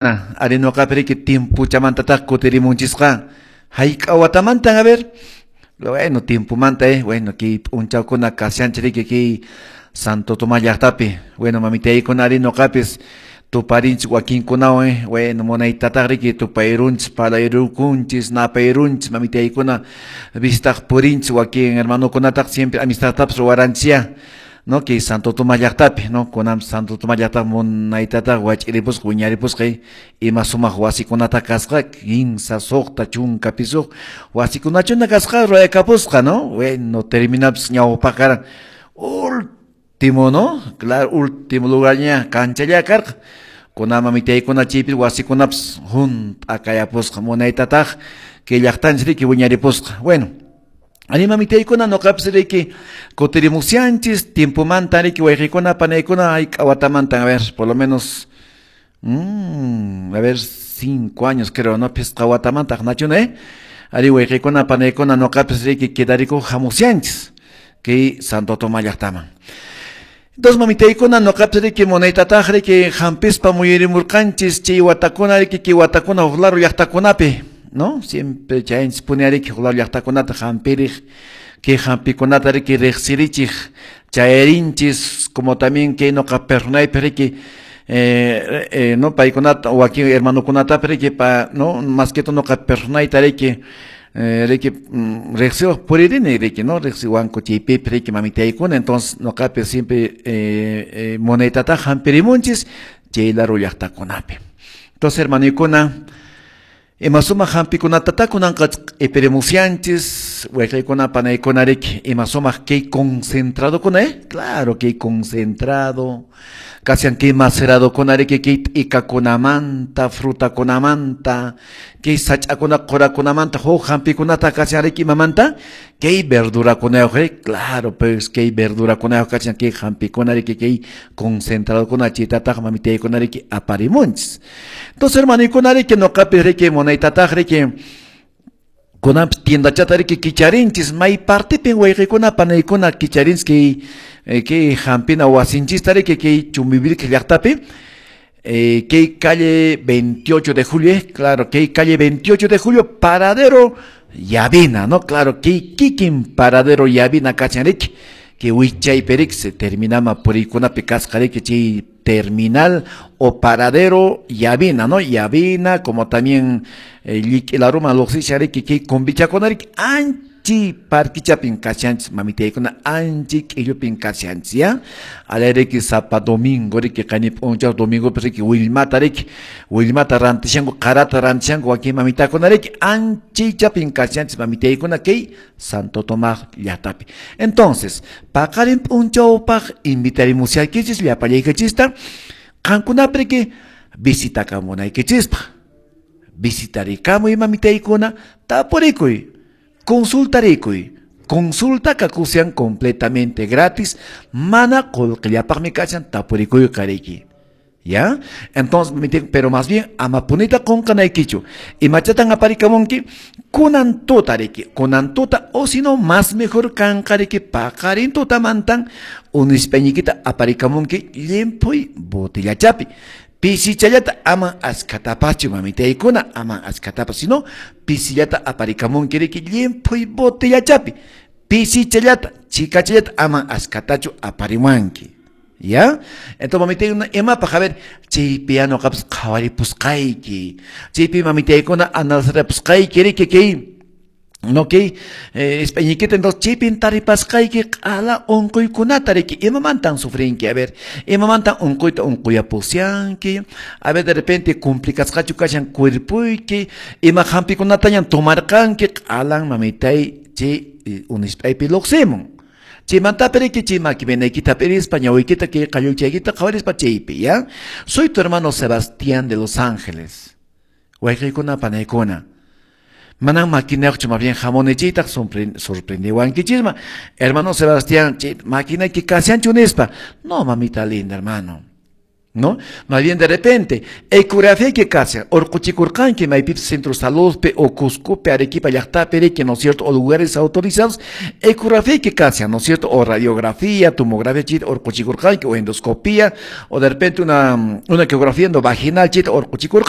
Ari noqapi riki timpuchamantataq kutirimunchisqa. Hayk'a watamantan, a ver? Bueno, tiempomanta, bueno, kay p'unchawkuna kashanchik riki kay Santo Tomás llaqtapi. Bueno, mamitaykuna ari noqapis tuparinchik wakinkunawan, bueno, munaytataq riki tupayrunchis, parlayrukunchis, napayrunchis, mamitaykuna visitaq purinchis wakin hermanokunataq siempre amistadtapas ruwaranchisyá. No, kay Santo Tomás llaqtapi, no, kunan Santo Tomás llaqtapi munaytataq wach'iripusqa, wiñaripusqa, ima sumaq wasikunata kasqa, 15, 6, 10 pisuq wasikunachuna kasqa ruwayakapusqa, no, bueno, terminapis ñawpaq karan último, no, claro, último lugarña kanchalla karqa. Kunan mamitaykuna chaypi wasikunapas hunt'a kayapusqa, munaytataq kay llaqtanchik riki wiñaripusqa. Bueno, ari mamitaykuna noqapis riki kutirimusyanchis tiempomanta riki wayqikuna panaykuna hayk'a watamantan, a ver, por lo menos a ver, 5 años creo, no, phisqa watamanta aqnachuna, ari wayqikuna panaykuna noqapis riki quedarikuq hamusyanchis kay Santo Tomás llaqtaman. Entonces mamitaykuna noqapis riki munaytataq riki hampispa muyurimurqanchis chay watakuna riki kay watakuna huk lado llaqtakunapi, no, siempre chayanchis puni riki huk lado llaqtakunata hampiriq, kay hampikunata riki riqsirichiq chayarinchis, como también kay noqa personaypi riki no, paykunata wakin hermanokunatapi riki pa, no, más que todo noqa personayta riki riki riqsiwaq puririni riki, no, riqsiwanku chaypipi riki mamitaykuna. Entonces noqapi siempre munaytataq hampirimunchis chay lado llaqtakunapi. Entonces hermanoykuna, ima sumaq hampikunatata kunanqa q'ipirimusyanchis, wayqaykuna panaykuna riki, ima sumaq kay concentradokuna, claro, kay concentrado, kashan kay maceradokuna riki, kay t'ikakunamanta, frutakunamanta, kay sach'akuna qurakunamanta, huk hampikunata kashan riki imamanta, kay verdurakunayuq, claro, pues kay verdurakunayuq kashan kay hampikuna riki, kay concentradokuna, chaytataq mamitaykuna riki aparimunchis. Entonces hermanoykuna riki noqapi riki munaytataq riki kunanpis tiendachata riki kicharinchis, may partipin wayqikuna panaykuna kicharinchis kay kay hampina wasinchista riki kay Chumbivilcas llaqtapi, kay calle 28 de julio, claro, kay calle 28 de julio, paradero Llavina, no, claro, kay kikin paradero Llavina kachan riki, kay wichaypi riki se terminama puriykunapi kasqa riki chay terminal o paradero Llavina, no, Llavina, como también Llik'ilaruma luqsishan riki kay kumbichakuna riki anchi parquichapin kashanchis mamitaykuna, anchi k'illupin kashanchis, ya, alay riki sapa domingo riki qani p'unchaw domingopi riki willmata riki, willmata rantishanku, qarata rantishanku wakin mamitakuna riki, anchichapin kashanchis mamitaykuna kay Santo Tomás llaqtapi. Entonces, paqarin p'unchawpaq invitarimusaykichis llapallaykichista qankunapi riki visitakamunaykichispaq. Visitarikamuy mamitaykuna, tapurikuy, consultarikuy. Consulta kakusian completamente gratis, mana qullqillapaqmi kashan tapurikuy qariki. ¿Ya? Entonces, pero más bien, amapunita qunqanaykichu. Imachatan aparikamunki, kunan tuta riki, kunan tuta, o si no, más mejor kanqa riki, paqarin tutamantan, unispañikita aparikamunki, llimphuy botellachapi. Pisichallata ama askatapachu mamitaykuna, ama askatapas, sino pisillata aparikamunki riki, llimphuy botellachapi. Pisichallata, chikachallata ama askatachu aparimuanki. ¿Ya? Entonces, mamitaykuna, imapaq, a ver, chaypi noqapas qhawaripusqayki, chaypi mamitaykuna analizarapusqayki riki kay, no, kay españikita, entonces chaypin taripasqayki q'ala unquykunata riki, imamantan sufrinki, a ver, imamantan unquyta unquyapusyanki, a ver, de repente complicasqachu kashan cuerpuyki, ima hampikunatañan tomarqanki, q'alan mamitay chay unisp'aypi luqsimun. Chaymantapi riki chay maki venaykita p'irispa, ñawiykita kay qalluchaykita qhawarispa chaypi, ¿ya? Soy tu hermano Sebastián de Los Ángeles. Wayqiykuna panaykuna. Manan maquinayuqchu, más bien hamunichiytaq sorprendiwankichisma. Hermano Sebastián, chay maquinayki kashanchu nispa. No, mamita linda, hermano. ¿No? Más bien de repente, ecografía que kashan, urquchikurqanki maypipis centro saludpi o Cuscopi, Arequipa llaqtapi, ¿no es cierto? O lugares autorizados, ecografía que kashan, ¿no es cierto? O radiografía, tomografía, chit, urquchikurqanki, o endoscopía, o de repente una ecografía endovaginal, chit, urquchikurqanki.